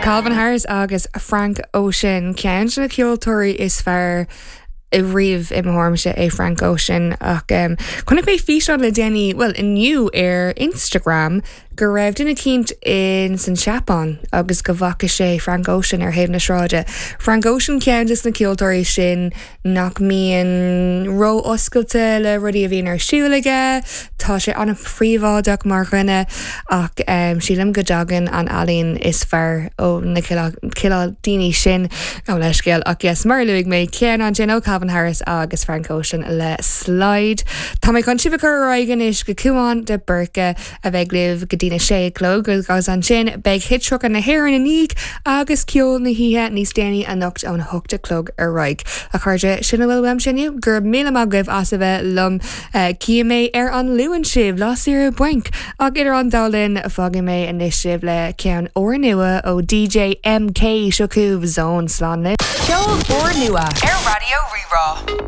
Calvin Harris agus Frank Ocean, ceann de na ceoltóirí is fearr riamh i mo thuairimse é Frank Ocean ach chonaic mé físeán le déanaí, bhuel inniu ar Instagram go raibh duine eicínt in san Seapáin agus go bhfaca sé Frank Ocean ar thaobh na sráide. Frank Ocean ceann de na ceoltóirí sin nach mbíonn ró-oscailte le rudaí a bhíonn ar siúl aige. Tá sé an-phríobháideach mar dhuine ach sílim go dtagann an ealaín is fearr ó na cineál daoine sin. Gabh mo leithscéal ach yes, mar a luaigh mé, ceann ansin ó Calvin Harris agus Frank Ocean le Slide. Tá mé chun sibh a chur ar aghaidh anois go Cúán de Búrca. a bheidh libh go dtína sé a chlog agus ansin beidh Hit 30 na hÉireann ina ndiaidh agus ceol na hoíche níos déanaí anocht ón 8 a chlog ar aghaidh. A chairde, sin a bhfuil uaimse inniu. Go raibh míle maith agaibh as a bheith liom. Cífidh mé ar an Luan sibh, lá saoire bainc! Ach idir an dá linn, fágfaidh mé anois sibh le ceann úrnua ó DJ MK. Seo chugaibh Zone. Slán libh. Ceol úrnua ar Raidió Rí-Rá.